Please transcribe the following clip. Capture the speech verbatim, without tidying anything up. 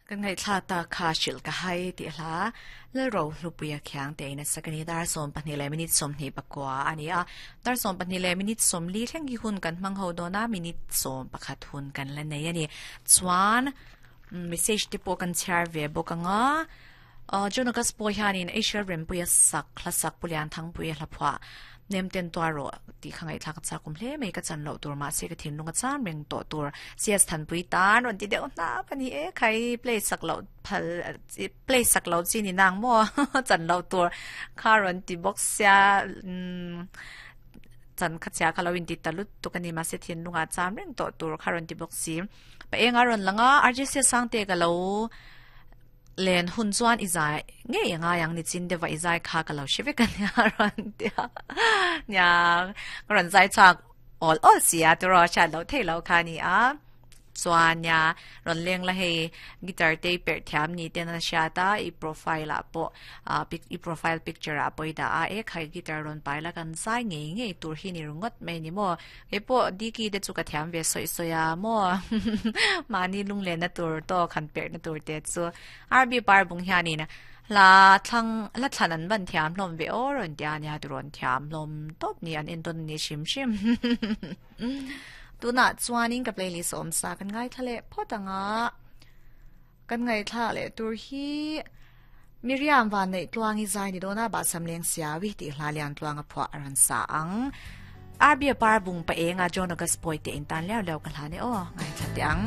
Kan ngai thla ta kha shil ka hai ti hla le ro hlupuia khyang te na sakani dar som pahnih le minute som hnih pakua ani a dar som pahnih le minute som li thleng hi hun kan hmang ho dona minute som pakhat hun kan la nei ani chuan message te pawh kan chhiar ve bawk anga Jonakas pawh hianin Asia rempuia sak hla sak pulian thangpuia hla phuah nem ten tua ro ti khangai thla ka cha kum hle mai ka chan lo tur ma se ka thin lunga chan reng to tur cs than pui tan ron ti deuh na pani e khai play sak lo phal play sak lo chi ni nang mo chan lo tur kha ron ti box sia chan kha cha kha lo in ti talut tu ka ni ma se thin lunga cham reng to tur kha ron ti box si pa enga ron langa R J C sang te ka lo len hun chuan izai nge nga yang ni chin dewa izai kha ka lo shive kan ya ron tia nya ron zai chak all all sia to ro cha lo thei lo kha ni a chuan nya ron leng la hei guitar te per thiam ni te na sha ta i profile a po a pic i profile picture a poi da a e khai guitar ron pai la kan zai nge nge tur hi ni rungot mai ni mo e po diki de chu ka thiam ve soi soya mo mani lung le na tur to khan per na tur te chu R B par bung hiani na la thlang la thlan an ban thiam hlom ve o ron tia nia tu ron thiam hlom top ni an enton ni shim shim tuna chuanin ka playlist om sa kan ngai thale photanga kan ngai thla le tur hi Miriam van nei tluangi zai ni dona ba samleng siawi ti hla lian tluanga phwa aran sa ang R B par bung pa enga Jonagas poi te in tan lew lew ka hla ne o ngai thla te ang.